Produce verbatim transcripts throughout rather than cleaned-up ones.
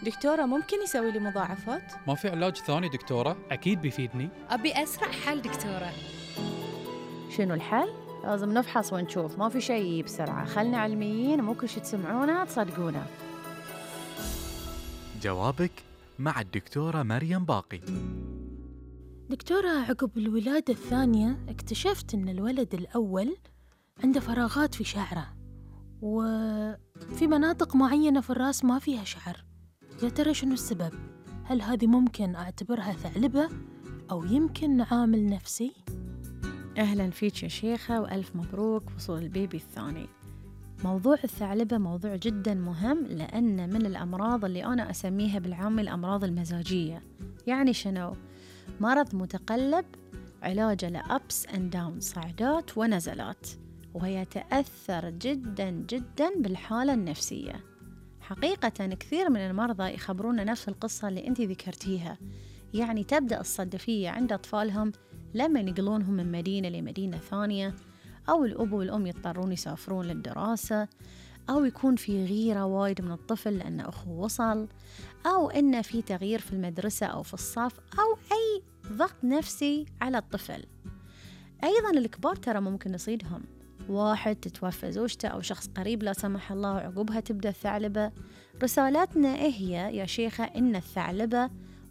دكتورة ممكن يسوي لي مضاعفات؟ ما في علاج ثاني دكتورة؟ أكيد بيفيدني. أبي أسرع حل دكتورة. شنو الحل؟ لازم نفحص ونشوف، ما في شيء بسرعة. خلنا علميين، مو كل شي تسمعونه تصدقونه. جوابك مع الدكتورة مريم باقي. دكتورة، عقب الولادة الثانية اكتشفت أن الولد الأول عنده فراغات في شعره، وفي مناطق معينة في الرأس ما فيها شعر. يا ترى شنو السبب؟ هل هذه ممكن أعتبرها ثعلبة أو يمكن عامل نفسي؟ أهلا فيك يا شيخة، وألف مبروك وصول البيبي الثاني. موضوع الثعلبة موضوع جدا مهم، لأن من الأمراض اللي أنا أسميها بالعامة الأمراض المزاجية. يعني شنو؟ مرض متقلب علاجه لأبس أند داون، صعدات ونزلات، وهي تأثر جدا جدا بالحالة النفسية. حقيقة كثير من المرضى يخبرونا نفس القصة اللي أنت ذكرتيها. يعني تبدأ الصدفية عند أطفالهم لما ينقلونهم من مدينة لمدينة ثانية، أو الأب والأم يضطرون يسافرون للدراسة، أو يكون في غيرة وايد من الطفل لأن أخوه وصل، أو إنه في تغيير في المدرسة أو في الصف، أو أي ضغط نفسي على الطفل. أيضا الكبار ترى ممكن يصيدهم، واحد تتوفى زوجته أو شخص قريب لا سمح الله، وعقبها تبدأ الثعلبة. رسالتنا إيه هي يا شيخة؟ إن الثعلبة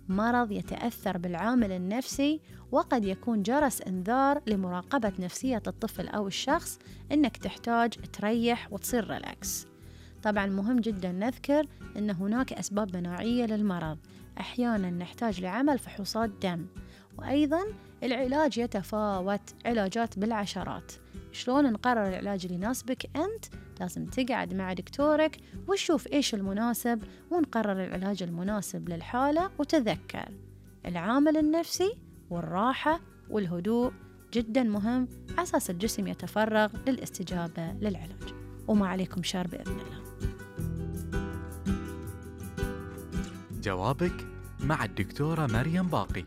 مرض يتأثر بالعامل النفسي، وقد يكون جرس إنذار لمراقبة نفسية الطفل أو الشخص، إنك تحتاج تريح وتصير ريلاكس. طبعا مهم جدا نذكر إن هناك أسباب مناعية للمرض، أحيانا نحتاج لعمل فحوصات دم، وأيضا العلاج يتفاوت، علاجات بالعشرات. شلون نقرر العلاج اللي يناسبك أنت؟ لازم تقعد مع دكتورك وتشوف إيش المناسب، ونقرر العلاج المناسب للحالة. وتذكر العامل النفسي والراحة والهدوء جدا مهم، أساس الجسم يتفرغ للاستجابة للعلاج. وما عليكم شر بإذن الله. جوابك مع الدكتورة مريم باقي.